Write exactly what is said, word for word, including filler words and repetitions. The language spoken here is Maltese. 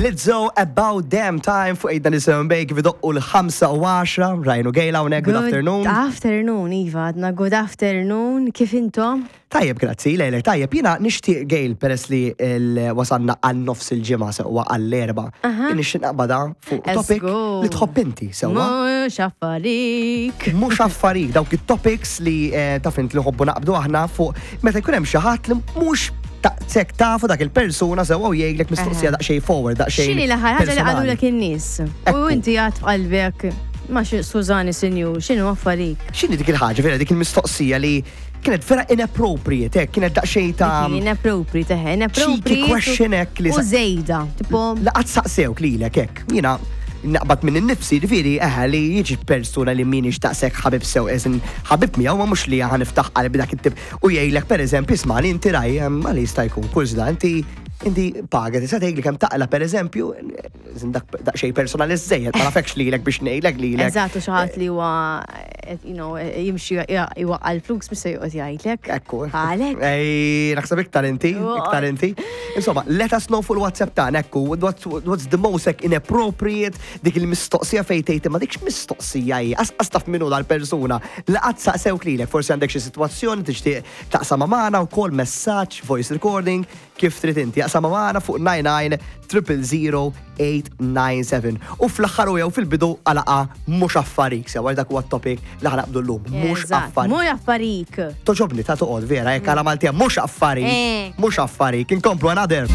Lizzo, "About Damn Time" fuq eight ninety-seven Bay kif idoqqu l-ħamsa u għaxra. Rajnu Gail hawnhekk, good afternoon. Afternoon, Iva, għadna good afternoon, kif intom? Tajjeb, grazzi, lejlek, tajjeb. Jiena nixtieq, Gail, peress li l- wasanna għal nofs il-ġimgħa, sewwa, għall-Erbgħa. Jien nixtieq naqbada fuq topic Esku. li tħobb inti, sewwa. Mhux affarik. Mhux affarik, dawk it-topics li eh, taf int li ħobbu naqbdu aħna fuq meta jkun hemm xi ħadd li mhux taqsek tafu dak il-persuna sewwa u jgħidlek mistoqsija daqsxejn forward, daqsxejn X'inhi l-aħħar ħaġa li personali. qalulek in-nies? U Ekku. inti għad f'qalbek, ma xi skużani sinjur, x'inhu affarik? X'inhi dik il-ħaġa, vera dik il-mistoqsija li kienet vera inappropriate, hekk, kienet daqsxejn ta' Inappropriate, eħe, inappropriate. Question hekk li U sa- zejda, tipo, laqat saqsewk lilek hekk. Jiena naqbad minn innifsi, ġifieri, eħe, li jiġi persuna li minix daqshekk ħabib sew, eżin ħabib miegħu, ma mhux li ħa niftaħ qalbi dak it-tip u jgħidlek, pereżempju, isma' li inti raj ma li jista' jkun kurżità, inti inti paga tista' tgħidli kemm taqla, pereżempju, eżin dak daqsxejn personali żejjed, ma nafekx lilek biex ngħidlek lilek. Eżatt, u xi ħadd li huwa, eh, you know, jimxi jwaqqa l-flus mhux se joqgħod jgħidlek. Ekku. Għalek. Ej, naħseb iktar inti, iktar inti. Insomma, let us know fuq il-WhatsApp tagħna, ekku, what's, what's the most, like, inappropriate, dik il-mistoqsija fejn tgħid ma dikx mistoqsija hi, as taf minnu dal-persuna. Li qatt saqsewk lilek, forsi għandek xi sitwazzjoni tixtieq taqsam magħna wkoll, messaġġ, voice recording, kif trid inti. Aqsam magħna fuq nine nine triple zero eight nine seven. U fl-aħħar u jew fil-bidu għalaqa mhux affarik, sew dak huwa t-topic li ħa naqbdu llum, mhux Eżatt, affarik. mhux affarik. Togħġobni ta' toqgħod vera, jekk għala Maltija mhux affarik, Eh. mhux affarik, inkomplu another.